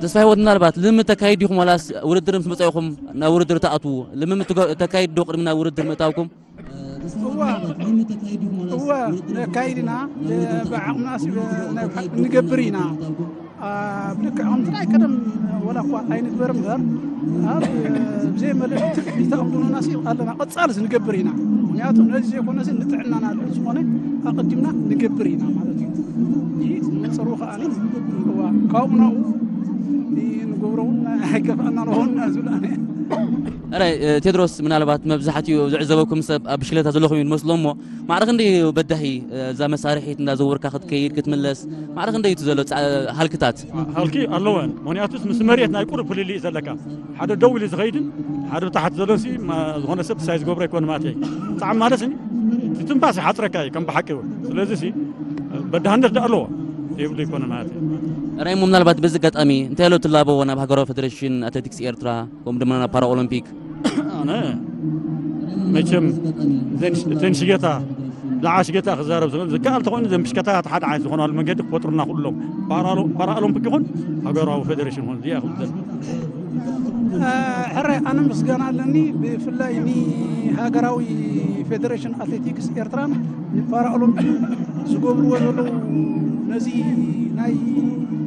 ተስፋ ህይወት፣ ምናልባት ልምምድ ተካይድ ዲኹም ዋላስ ውድድር ምስ መጻእኹም ናብ ውድድር ትኣትዉ? ልምምድ ትገ- ተካይድ ዶ ቅድሚ ናብ ውድድር ምእታውኩም? እዋ እዋ ነካይድ ኢና። ብዓቕምናስ ናይ ብሓቂ ንገብር ኢና። ኣብ ልክዕ ከምቲ ናይ ቀደም ወላ እኳ ኣይንግበር እምበር ኣብ ብዘይ መለለይ ትጽቢት ኣቕድሙናሲ ኣለና። ቀጻልስ ንገብር ኢና። ምክንያቱ ነዚ ዘይኮነሲ ንጥዕናና ዝኾነ ኣቐዲምና ንገብር ኢና ማለት እዩ። ይህ መጸሩ ከኣኒ እዋ ካብኡ ናብኡ ንገብሮ እውን ኣይከፍኣና ንኸውን ዝብል ኣነ ራይ ቴድሮስ፣ ምናልባት መብዛሕትኡ ዝዕዘበኩም ሰብ ኣብ ብሽክሌታ ዘለኹም እዩ ዝመስሎ እሞ ማዕረ ክንደይ በዳሂ እዛ መሳርሒት እንዳዘወርካ ክትከይድ ክትምለስ ማዕረ ክንደይ እዩ ዘሎ ጻ- ሃልክታት? ሃልኪ ኣለወን። ምክንያቱስ ምስ መሬት ናይ ቁሩብ ፍልልይ እዩ ዘለካ። ሓደ ደው ኢሉ ዝኸይድን ሓደ ብታሕቲ ዘሎ ሲ ማ- ዝኾነ ሰብ ሳይ ዝገብሮ ኣይኮነ ማለት እዩ። ብጣዕሚ ማለት ሲ እቲ ትንፋስ ይሓፅረካ እዩ ከም ብሓቂ እውን። ስለዚ ሲ በዳህነት ዳ ኣለዎ ዘይብሉ ይኮነ ማለት እዩ። ራይሞ፣ ምናልባት በዚ ኣጋጣሚ እንታይ ኣሎ ትላበዎ ናብ ሃገራዊ ፌደሬሽን ኣትሌቲክስ ኤርትራ ከምኡ ድማ ናብ ፓራኦሎምፒክ? ኣነ መቸም እተን ሽጌታ ብዛዕባ ሽጌታ ክዛረብ ዝኽእል ዝከኣል ተኾይኑ ዘን ብሽከታታት ሓደ ዓይነት ዝኾናሉ መንገዲ ክፈጥሩና ኩሎም ፓራኦሎምፒክ ይኹን ሃገራዊ ፌደሬሽን ይኹን እዚኣ ክብል ሕረ ኣነ ምስጋና ኣለኒ። ብፍላይ ንሃገራዊ ፌደሬሽን ኣትሌቲክስ ኤርትራን ንፓራኦሎምፒክ ዝገብርዎ ዘለዉ ነዚ ናይ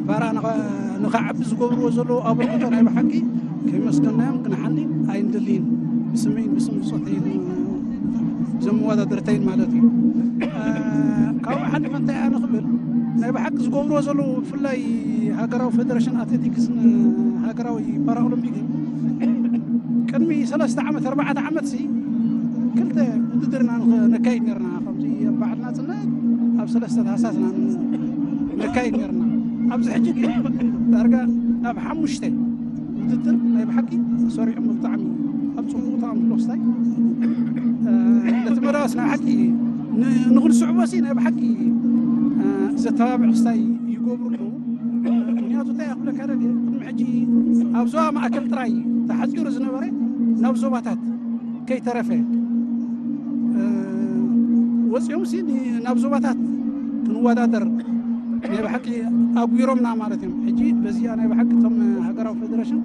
ፓራ ንኸ- ንኸዓቢ ዝገብርዎ ዘለዉ ኣበርክቶ ናይ ብሓቂ ከመስገናዮም ክንሓሊ ኣይንደልይን። ብስመይን ብስም ብፆተይን ዘመወዳደርተይን ማለት እዩ። ካብኡ ሓሊፈ እንታይ ኣነ ክብል ናይ ብሓቂ ዝገብርዎ ዘለዉ ብፍላይ ሃገራዊ ፌደሬሽን ኣትሌቲክስን ሃገራዊ ፓራኦሎምፒክን ቅድሚ ሰለስተ ዓመት ኣርባዕተ ዓመት ሲ ክልተ ውድድርና ነካይድ ነርና ከምዚ ኣብ በዓል ናፅነት ኣብ ሰለስተ ታህሳስና ነካይድ ነርና። ኣብዚ ሕጂ ግን ዳርጋ ናብ ሓሙሽተ ውድድር ናይ ብሓቂ ሰሪዖም ብጣዕሚ ኣብ ፅቡቅ ተኣምሎ ክስታይ ነቲ መዳዋስ ናይ ሓቂ ንክንስዕቦ ሲ ናይ ብሓቂ ዘተባብዕ ክስታይ ይገብሩ ኣለዉ። ምክንያቱ እንታይ ክብለካ ደልየ ቅድሚ ሕጂ ኣብ ዞባ ማእከል ጥራይ ተሓፂሩ ዝነበረ ናብ ዞባታት ከይተረፈ ወፂኦም ሲ ናብ ዞባታት ክንወዳደር ናይ ብሓቂ ኣጉሮምና ማለት እዮም። ሕጂ በዚኣ ናይ ብሓቂ እቶም ሃገራዊ ፌደሬሽን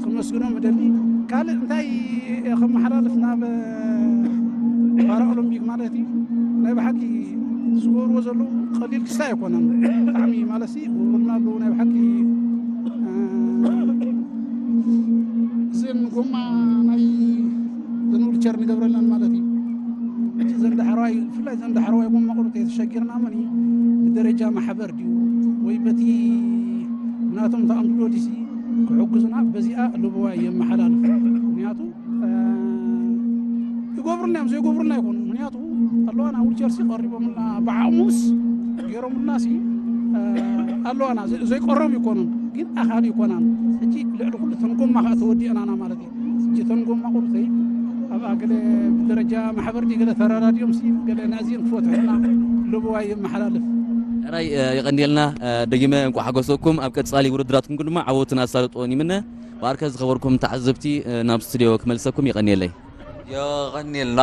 ክመስግኖም እደሊ። ካልእ እንታይ ከመሓላልፍ ናብ ፓራኦሎምፒክ ማለት እዩ ናይ ብሓቂ ዝገብርዎ ዘለዉ ቀሊል ክስታይ ኣይኮነን። ብጣዕሚ ማለት ሲ ውርና ኣለዉ ናይ ብሓቂ እዚን ጎማ ናይ ዘን ዊልቸር ንገብረለን ማለት እዩ። እቲ ዘንዳሕረዋይ ብፍላይ ዘንዳሕረዋይ ጎማ ቁርጥ የተሸጊርና መን እዩ ብደረጃ ማሕበር ድዩ ወይ በቲ ናቶም ተኣምዶ ዲሲ ክሕግዙና በዚኣ ልብዋ የመሓላልፍ። ምክንያቱ ይገብሩልና እዮም ዘይገብሩልና ይኮኑ። ምክንያቱ ኣለዋና ዊልቸር ሲ ቀሪቦምልና ብዓቕሙስ ገይሮምልና ሲ ኣለዋና ዘይቀረቡ ይኮኑን ግን ኣኻሊ ይኮናን። ሕጂ ልዕሊ ኩሉ ተንጎማ ከዓ ተወዲአናና ማለት እዩ። እተን ጎማ ቁርተይ ኣብ ኣገለ ብደረጃ ማሕበር ድዩ ገለ ተረዳድዮም ሲ ገለ ናዚን ክፈትሑና ልብዋ የመሓላልፍ። ራይ የቐንየልና። ደጊመ እንቋ ሓጎሰኩም ኣብ ቀጻሊ ውድድራትኩም ድማ ዓወትን ኣሳልጦን ይምነ። ባርከ ዝኸበርኩም ተዓዘብቲ ናብ ስቱዲዮ ክመልሰኩም የቐንየለይ። የቐንየልና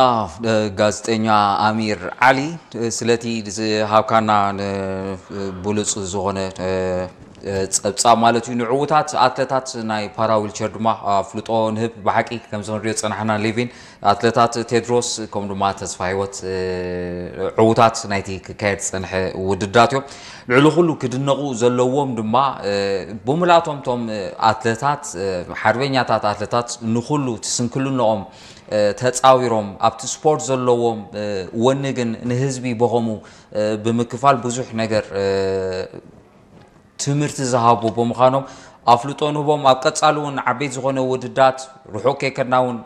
ጋዜጠኛ ኣሚር ዓሊ ስለቲ ዝሃብካና ብሉፅ ዝኾነ ፀብፃብ ማለት እዩ። ንዕዉታት ኣትለታት ናይ ፓራ ዊልቸር ድማ ኣፍልጦ ንህብ። ብሓቂ ከምዚ ክንሪኦ ዝፀናሕና ሌቪን ኣትለታት ቴድሮስ ከም ድማ ተስፋ ህይወት ዕዉታት ናይቲ ክካየድ ዝፀንሐ ውድድራት እዮም። ልዕሊ ኩሉ ክድነቑ ዘለዎም ድማ ብሙላቶም ቶም ኣትለታት ሓርበኛታት ኣትለታት ንኩሉ ትስንክልንኦም ተፃዊሮም ኣብቲ ስፖርት ዘለዎም ወኒ ግን ንህዝቢ በኸሙ ብምክፋል ብዙሕ ነገር ትምህርቲ ዝሃቡ ብምዃኖም ኣፍልጦ ንህቦም። ኣብ ቀፃሊ እውን ዓበይቲ ዝኾነ ውድድራት ርሑቕ ከይከድና እውን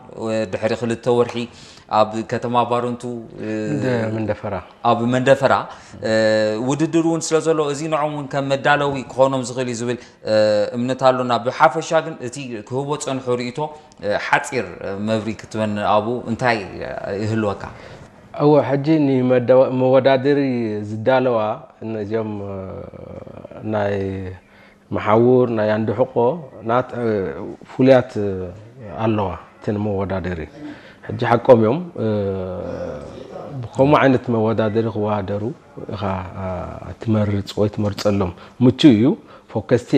ድሕሪ ክልተ ወርሒ ኣብ ከተማ ባረንቱ መንደፈራ ኣብ መንደፈራ ውድድር እውን ስለ ዘሎ እዚ ንዖም እውን ከም መዳለዊ ክኾኖም ዝኽእል እዩ ዝብል እምነት ኣሎና። ብሓፈሻ ግን እቲ ክህቦ ፀንሑ ርእቶ ሓፂር መብሪ ክትበን ኣብኡ እንታይ ይህልወካ? እወ ሕጂ ንመወዳደሪ ዝዳለዋ እነዚኦም ናይ መሓውር ናይ ኣንድሕቆ ናት ፍሉያት ኣለዋ። እቲ ንመወዳደሪ ሕጂ ሓቆም እዮም። ብከምኡ ዓይነት መወዳደሪ ክወዳደሩ ኢኻ ትመርፅ ወይ ትመርፀሎም ምቹ እዩ። ፎከስቲ